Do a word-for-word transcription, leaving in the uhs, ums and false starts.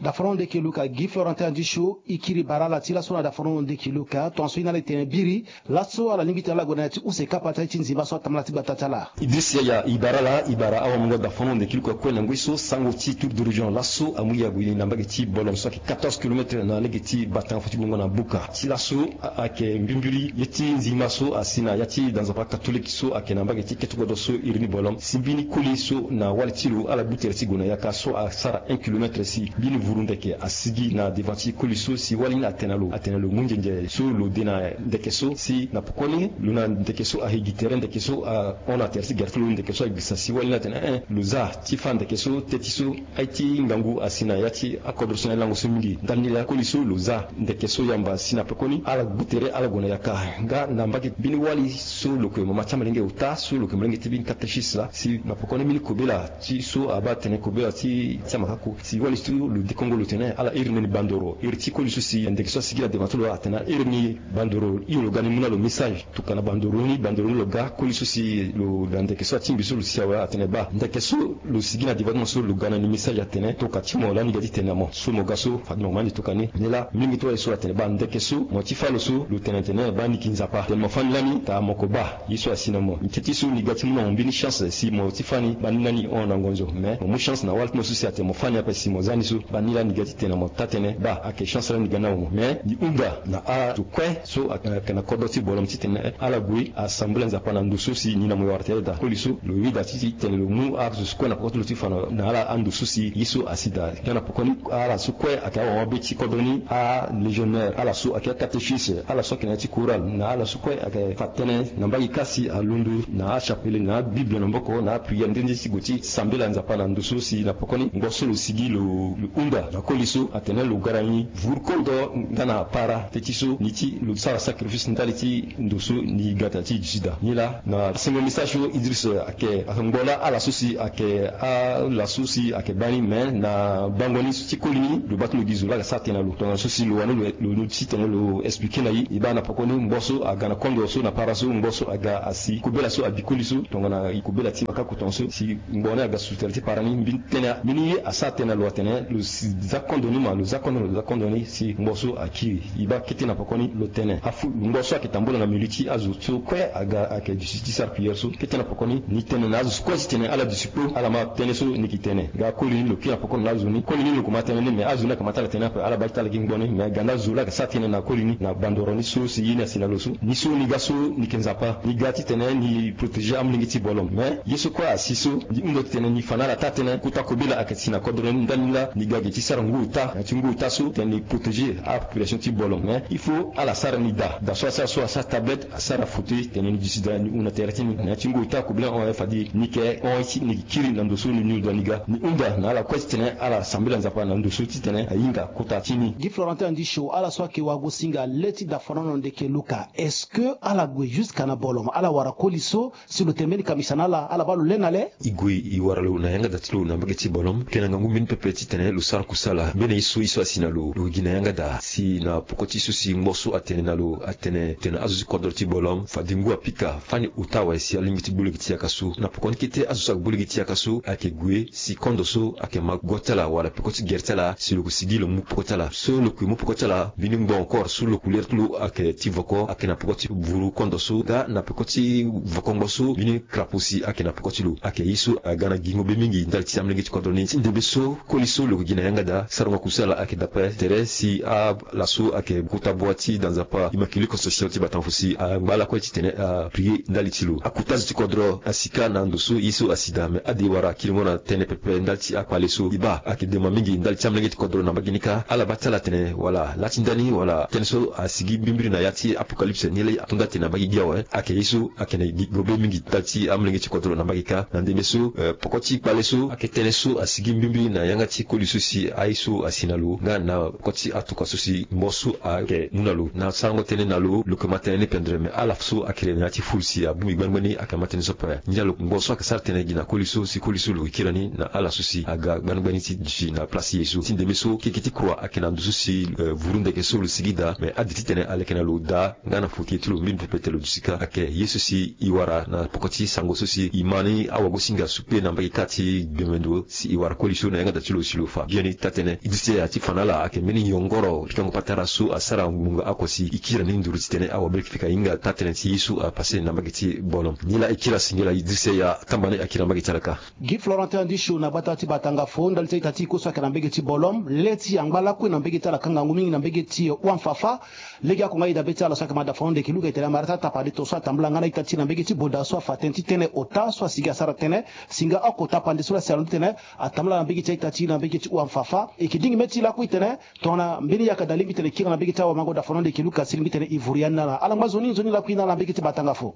Dafaron ndeke luka gi Florentin andi sho i kiri bara ala ti laso na dafaron ndeke luka tongaso i na ala e tene biri. Laso ala lingbi tene ala gue na ya ti use kapa ti aye ti nzimba so atambala ti gbata ti ala. Idris Yaya i bara ala i bara awamungo dafaron ndeke luka kue na ngoi so sango ti tour de région laso amu ya gue na mbage ti bolom so ayeke quatorze kilomètre na lege ti batango fo ti gbongo na buka ti laso. Ayeke mbimbiri ye ti nzimba so asi na ya ti danzapa katolike so ayeke na mbage ti kete kodro so iri ni bolom si mbini koli so na wali ti lo ala gbu tere ti gue na yaka so asara un kilomètre si mbini vuru ndeke asigi na devant ti koli so si wali ni atene na lo atene na lo mu nzenze so lo de na ndeke so si na pokoni lo na ndeke so ahe gi tere ndeke so ahon na tere ti gere ti lo ndeke so agbisa si wali ni atene eh lo za ti fa ndeke so te ti so aye ti ngangu asi na ya ti akodro so na ye lango so mingi ndani laa koli so lo za ndeke so yamba si na pekoni ala gbu tere ala gue na yaka. Nga na mbage mbeni wali so lo kue mama ti amalenge ota so lo kue malenge ti mbeni katechis laa si na pekoni mbeni kobela ti so abaa tene kobela ti ti amakako si wali so lo dekongo lo tene ala iri ni bandoro iri ti koli so si ndeke so asigi na devant ti lo atene ala iri ni bandoro hio lo ga ni mu na lo message. Tokana bandoro ni bandoro ni lo ga koli so si lo na ndeke so atingbi so lo si awe atene baa ndeke so lo sigi na devant ti mo so lo ga na ni message atene toka ti mo lani ga ti tene na mo so mo ga so fade mo ma ni toka ni. Ni laa mingi ti wali so atene baa ndeke so mo ti fa lo so lo tene tene baa ni ki nzapa tene mo fa ni lani taa mo ko baa ye so asi na mo. Ni ti ti so ni ga ti mu na mo mbeni chance si mo ti fa ni baa ni lani hon na ngonzo mais mo mu chance na wali ti mo so si atene mo fa ni ape si mo za ni so baa ni lani ga ti tene na mo taa tënë baa ayeke chance lani ga ni na mo mais ni hunda na azo kue so ayeke na kodro ti bolom titene ala gue asambela nzapa na ndo so si ni na mo e wara tere daa koli so lo yeda ti tene lo mu azo so kue na poko ti lo ti fa na ala ando so si ye so asi daa. Nga na poko ni ala so kue ayeke awama be ti kodro ni alégionnaire ala so ayeke akatechis ala so ayeke na ya ti koral na ala so kue ayeke fa tënë na mbage kâ si alondo na achapele na abible na maboko na apriere nde nde ti gue ti sambela nzapa na ndo so si na poko ni ngo so lo sigi lo hunda na koli so atene lo gara ni vuru kondo nga na para te ti so ni ti lo sara sacrifice ndali ti ndo so ni ga tena ti dusi daa. Ni laa na sengo message so Idris ayeke ayeke ngbo laa ala so si ayeke ala so si ayeke baa ni mais na bango ni so ti koli ni lo baa ti lo gi zo laa ayeke sara tënë na lo tongana so si lo wani lo lo ti tene lo expliqué na e e baa na poko ni ngbo so aga na kondo so na para so ngbo so aga asi kobela so abi koli so tongana kobela ti makako tongaso si ngbo ni aga sutere ti para ni mbeni tënë mbeni ye asara tënë na lo atene lo si za kondo ni ma lo za kondo lo za kondo ni si ngbo so akiri. E baa kete na poko ni lo tene afu ngbo so ayeke tambula na milieu ti azo so kue aga ayeke duti ti sara prière so kete na poko ni ni tene na azo so kue ti tene ala duti kpo ala ma tënë so ni yeke tene. Nga koli ni lo kiri na poko na azo ni koli ni lo ko ma tënë ni mais azo ni ayeke ma ti ala tënë ape ala baa ti ala gi ngbo ni mais ga nda zo laa ayeke sara tënë na koli ni na bandoro ni so si ye ni asi na lo so ni so ni ga so ni yeke nzapa ni ga titene ni protéger amolenge ti bolom mais ye so kue asi so ni hunda titene ni fa na ala taa tënë kota kobela ayeke si na kodro ni ndani laa ni ga gi ti sara ngu ota na ya ti ngu ota so titene ni protéger apopulation ti bolom mais il faut ala sara ni daa daa so asara so asara tablette asara fauteuil titene ni duti daa ni hunda tere ti ni na ya ti ngu ota kobela hon aye fade ni yeke hon aye ti ni yeke kiri na ndo so ni ni lo daa ni ga ni hunda na ala kue titene ala sambela nzapa na ndo so titene ahinga kota ti ni. Gi Florentin andi sho ala so ayeke wagosinga le ti dafanono ndeke luka est-ce que ala gue jusque na bolom ala wara koli so si lo tene mbeni kamisa na ala ala baa lo le na le. E gue e wara lo na yanga daa ti lo na mbage ti bolom kena ngangu mbeni pepe titene lo sara kusala mbeni ye so ye so asi na lo lo gi na yanga daa si na poko ti so si ngbo so atene na lo atene tene azo ti kodro ti bolom fade ngu apika fani ota awe si alingbi ti gbu lege ti yaka so na poko ni kete azo so ayeke gbu lege ti yaka so ayeke gue si kondo so ayeke ma go ti ala wala peko ti gere ti ala si lo ko sigi lo mu poko ti ala so lo kue mu poko ti ala mbeni ngbo encore so lo kue lere ti lo ayeke ti voko ayeke na poko ti vuru kondo so nga na peko ti voko ngbo so mbeni krapo si ayeke na poko ti lo ayeke ye so aga na gingo be mingi ndali ti amelenge ti kodro ni ti ndembe so koli so lo gi na yanga daa sarango kusala ayeke dape tere si ala so ayeke kota bua ti danzapa immaculé conception ti batanfo si angba lakue titene aprie ndali ti lo akota zo ti kodro asi kâ na ndo so ye so asi daa me ade wara kiringo na tënë pepe ndali ti akpale so e baa ayeke dema mingi ndali ti amelenge ti kodro na mbage ni kâ ala baa ti ala tene wala laa ti ndani wala tënë so asigi mbimbiri na ya ti apocalypse ni laa ato nda tene na mbage gi awe ayeke ye so ayeke na gi gobe mingi ndali ti amelenge ti kodro na mbage kâ na ndembe so poko ti kpale so ayeke tënë so asigi mbimbiri na yanga ti koli so si Aye so asi na lo nga na koti atuka so si mbo so ayeke mu na lo na sarango tënë na lo lo yeke ma tënë ni pendere me ala so akiri na ya ti fulu si abongbi gbani gbani ayeke ma tënë so ape. Ngia lo mbo so ayeke sara tënë gi na koli so si koli so lo yeke kiri ni na ala so si aga gbani gbani ti duti na place ti ye so ti ndembe so keke ti croix ayeke na ndo so si vuru ndeke so lo sigi daa me ade titene aleke na lo daa nga na futi ye ti lo mbeni pepe te lo duti kâ ayeke ye so si e wara na poko ti sango so si e ma ni awagosinga so kpe na mbage kâ ti gbemendo si e wara koli so na yanga da ti lo si lo fa biani taa-tënë. Idrissa Yaya ti fa na ala ayeke mbeni yongoro pikango patara so asara ngbonga oko si e kiri ni nduru titene awabele fika hinga taa-tënë ti ye so apase na mbage ti Bolom. Nilaa e kiri asingila Idrissa Yaya atamba ni akiri na mbage ti ala kâ. Gi Florentin Andisho na gbata ti Batangafo ndali ti a-ita ti e kue so ayeke na mbage ti Bolom le ti angba lakue na mbage ti ala kâ ngangu mingi na mbage ti Ouanfafa. Legeoko nga e dabe ti ala so ayeke ma dafa na hunde yeke luka e tene amara ti atapande to so atambula nga na a-ita ti e na mbage ti Boda so afa tënë ti tënë ota so asigi asara tënë singa oko tapande so la si alondo titene atambula na mbage ti a-ita ti e na mbage ti Ouanfafa. E yeke dingi mê ti e lakue e tene tongana mbeni yaka da lingbi titene e kiri na mbage ti awamango dafa na hunde yeke luka si lingbi titene e vuru ya ni na ala alangba nzoni nzoni lakue na ala na mbage ti Batangafo.